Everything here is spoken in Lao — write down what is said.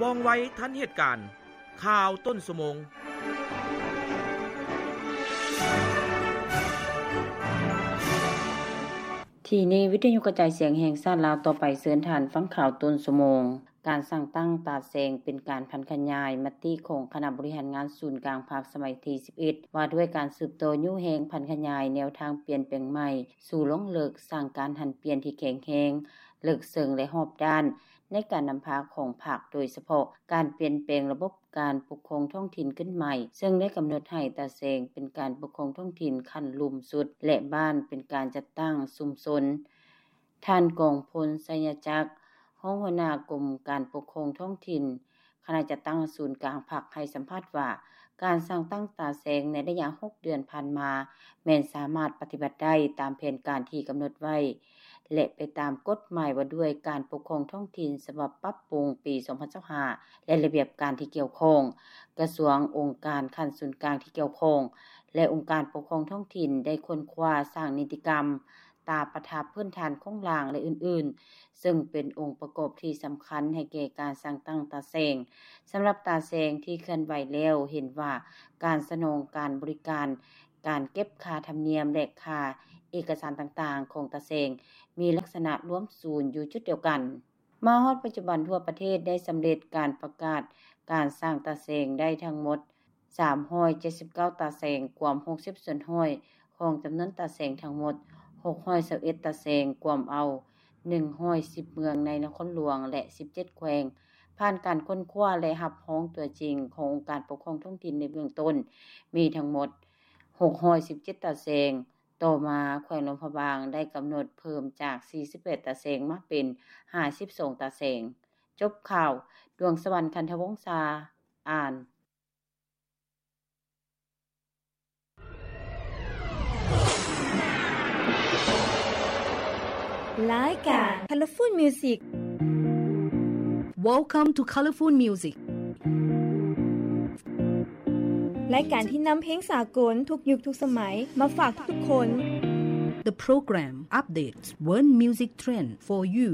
ວ່ອງໄວທັນເຫດການ. ຂ່າວຕົ້ນຊົ່ວໂມງ. ທີ່ນີ້ ວິທະຍຸກະຈາຍສຽງແຫ່ງຊາດລາວ ຕໍ່ໄປເຊີນທ່ານຟັງຂ່າວຕົ້ນຊົ່ວໂມງ. ການສ້າງຕັ້ງຕາແສງເປັນການຜັນຂະຫຍາຍມະຕິຂອງຄະນະບໍລິຫານງານສູນກາງພັກສະໄໝທີສິບເອັດ ວ່າດ້ວຍການສືບຕໍ່ຍູ້ແຮງຜັນຂະຫຍາຍແນວທາງປ່ຽນແປງໃໝ່ ສູ່ລວງເລິກ, ສ້າງການຫັນປ່ຽນທີ່ແຂງແຮງ, ເລິກເຊິ່ງ ແລະ ຮອບດ້ານ ໃນການນຳພາຂອງພັກ, ໂດຍສະເພາະການປ່ຽນແປງລະບົບການປົກຄອງທ້ອງຖິ່ນຂຶ້ນໃໝ່, ເຊິ່ງໄດ້ກຳນົດໃຫ້ຕາແສງເປັນການປົກຄອງທ້ອງຖິ່ນຂັ້ນລຸ່ມສຸດ ແລະ ບ້ານເປັນການຈັດຕັ້ງຊຸມຊົນ. ທ່ານ ກອງພົນ ໄຊຍະຈັກ ຮອງຫົວໜ້າກົມການປົກຄອງທ້ອງຖິ່ນ ຄະນະຈັດຕັ້ງສູນກາງພັກ ໃຫ້ສຳພາດວ່າ ການສ້າງຕັ້ງຕາແສງໃນໄລຍະຫົກເດືອນຜ່ານມາ ແມ່ນສາມາດປະຕິບັດໄດ້ຕາມແຜນການທີ່ກຳນົດໄວ້ ແລະ ໄປຕາມກົດໝາຍວ່າດ້ວຍການປົກຄອງທ້ອງຖິ່ນ ສະບັບປັບປຸງປີສອງພັນຊາວຫ້າ ແລະ ລະບຽບການທີ່ກ່ຽວຂ້ອງ. ກະຊວງ, ອົງການຂັ້ນສູນກາງທີ່ກ່ຽວຂ້ອງ ແລະ ອົງການປົກຄອງທ້ອງຖິ່ນ ໄດ້ຄົ້ນຄວ້າສ້າງນິຕິກຳ, ຕາປະທັບພື້ນຖານໂຄງລ່າງ ແລະ ອື່ນໆ ເຊິ່ງເປັນອົງປະກອບທີ່ສຳຄັນໃຫ້ແກ່ການສ້າງຕັ້ງຕາແສງ. ສຳລັບຕາແສງທີ່ເຄື່ອນໄຫວແລ້ວ ເຫັນວ່າການສະໜອງການບໍລິການ, ການເກັບຄ່າທຳນຽມ ແລະ ຄ່າເອກະສານຕ່າງໆຂອງຕາແສງ ມີລັກສະນະລວມສູນຢູ່ຈຸດດຽວກັນ. ມາຮອດປັດຈຸບັນ, ທົ່ວປະເທດໄດ້ສຳເລັດການປະກາດການສ້າງຕາແສງໄດ້ທັງໝົດ ສາມຮ້ອຍເຈັດສິບເກົ້າຕາແສງ, ກວມຫົກສິບສ່ວນຮ້ອຍຂອງຈຳນວນຕາແສງທັງໝົດ, ຫົກຮ້ອຍຊາວເອັດຕາແສງ, ກວມເອົາໜຶ່ງຮ້ອຍສິບເມືອງໃນນະຄອນຫຼວງ ແລະ ສິບເຈັດແຂວງ. ຜ່ານການຄົ້ນຄວ້າ ແລະ ຮັບຮອງຕົວຈິງຂອງອົງການປົກຄອງທ້ອງຖິ່ນໃນເບື້ອງຕົ້ນ ມີທັງໝົດຫົກຮ້ອຍສິບເຈັດຕາແສງ. ຕໍ່ມາ, ແຂວງຫຼວງພະບາງໄດ້ກຳນົດເພີ່ມຈາກສີ່ສິບແປດຕາແສງ ມາເປັນຫ້າສິບສອງຕາແສງ. ຈົບຂ່າວ. ດວງສະຫວັນ ຄັນທະວົງສາ ອ່ານ. ລາຍການ Colorful Music. Welcome to Colorful Music. ລາຍການທີ່ນຳເພງສາກົນທຸກຍຸກທຸກສະໄໝມາຝາກທຸກໆຄົນ. The program updates world music trend for you.